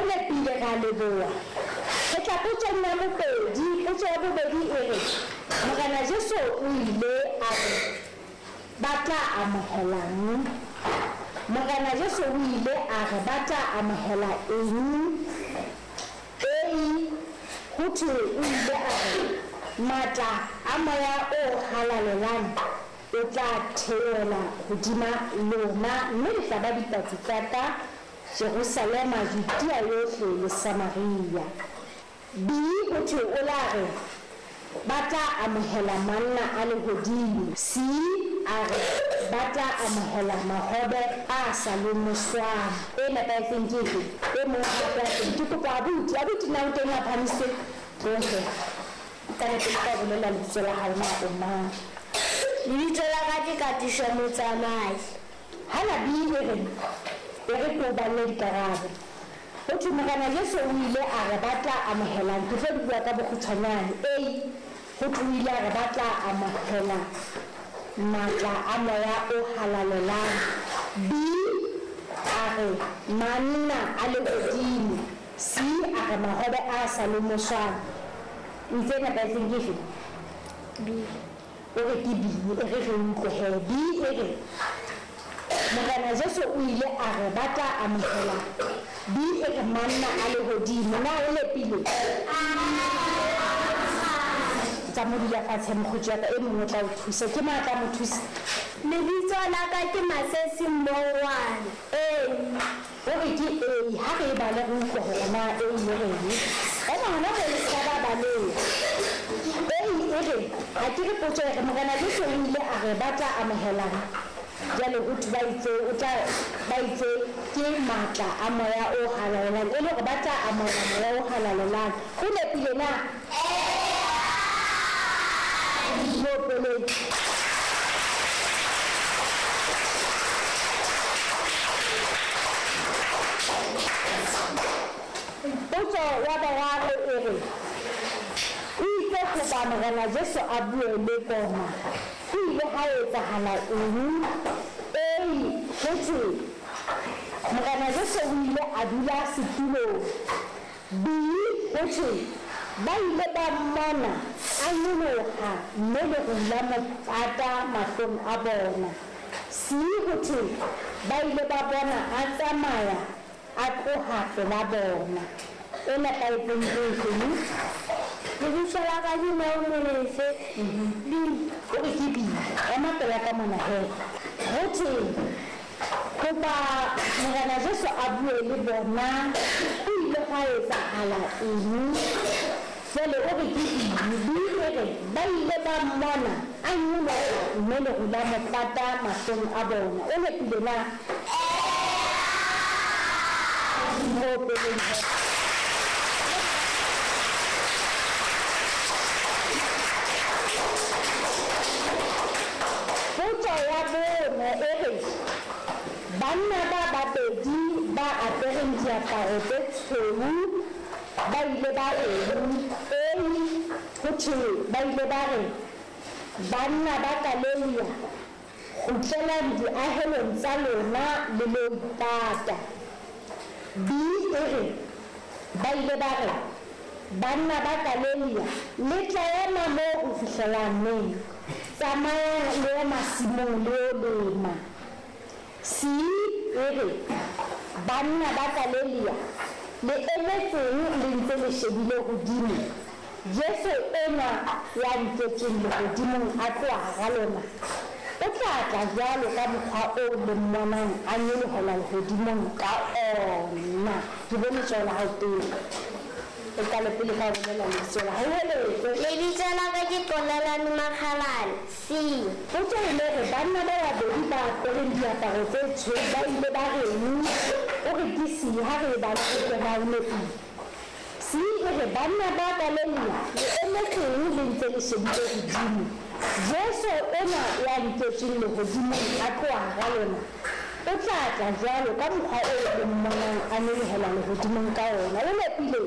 nepile, re a leboha. Re tla potsong ya bobedi. Potso ya bobedi e re, Morena Jesu o ile a re ba tla amohelang? Morena Jesu o ile a re ba tla amohela eng? A, ho thwe o ile a re matla a Moya o Halalelang o tla theohela hodima lona, mme le tla ba dipaki tsa ka Jerusalema, Judea yohle le Samaria. B, ho thwe o la re ba tla amohela manna a lehodimo. C, a re ba tla amohela mahobe a sa lomoswang. E nepahetseng ke efe? E mong hape a teng. Ke kopa abuti, abuti na o teng a phahamise? Tlohe. Qale pele ka ho bolela lebitso la hao na o mang. Lebitso la ka ke Katiso Motsamai. Hana B e reng? E re ke o balle dikarabo. Ho thwe Morena Jesu o ile a re ba tla amohelang? Ke tlo di bua ka bokgutshwanyane. A, ho thwe o ile a re ba tla amohela matla a Moya o Halalelang. B, a re manna a lehodimo. C, a re mahobe a sa lomoswang. O itse e nepahetseng ke efe? B. O re ke B, e re re utlwe he. B e re, Morena Jesu o ile a re ba tla amohela. B e re manna a lehodimo. Na o nepile? Tsa mo dula fatshe mokgotsi wa ka, e mong o tla o thusa. Ke mang a tla mo thusa? Lebitso la ka ke Masesi Mmongwane. A. O re ke A, ha re e bale re utlwe hore na A e reng. Ema hona moo le se ka ba baleha. A e re, ha ke re potso e re, Morena Jesu o ile a re ba tla amohelang? Jwale ho thwe ba itse o tla, ba itse ke matla a Moya o Halalelang, e le hore ba tla amohela Moya o Halalelang. Ho nepile na? Mo opeleng. Potso ya boraro e re, O itse hoba Morena Jesu a bue le bona, ho ile ha etsahala eng? A, ho thwe, Morena Jesu o ile a dula setulong. B, ho thwe, ba ile ba mmona a nyoloha mme leru la mo pata mahlong a bona. C, ho thwe, ba ile ba bona a tsamaya a tloha pela bona. E nepahetseng ke efe? Lebitso la ka ke Neo Molefe. B. O re ke B. Ema pela ka mona he. Ho thwe, Hoba Morena Jesu a bue le bona, ho ile hwa etsahala eng? Jwale o re ke eng? B e re, Ba ile ba mmona a nyoloha mme leru la mo pata mahlong a bona. O nepile na? Mo opeleng he. Potso ya bone e re, Banna ba babedi ba apereng diaparo tse tshweu ba ile ba reng? A, ho thwe ba ile ba re, Banna ba Galelia, kgutlelang diahelong tsa lona le lo ipata. B e re, ba ile ba re, Banna ba Galelia, le tla ema moo ho fihlela neng? Tsamayang le ye masimong le yo lema. C e re, Banna ba Galelia, le emetseng le ntse le shebile hodimo? Jesu enwa ya nketsweng lehodimong a tloha hara lona, o tla tla jwalo ka mokgwa oo le mmonang a nyolohela lehodimong ka ona. Ke bone letsoho la hao pele. O qale pele ka ho bolela lebitso la hao. Heletse. Lebitso la ka ke Qolelani Makgalane. C. Potso e le re, banna ba babedi ba apereng diaparo tse tshweu ba ile ba reng? O re ke C, ha re e bale re utlwe na o nepile. C e re, Banna ba Galelia, le emetseng le ntse le shebile hodimo? Jesu enwa ya nketsweng lehodimong a tloha hara lona, o tla tla jwalo ka mokgwa oo le mmonang a nyolohela lehodimong ka ona. O nepile?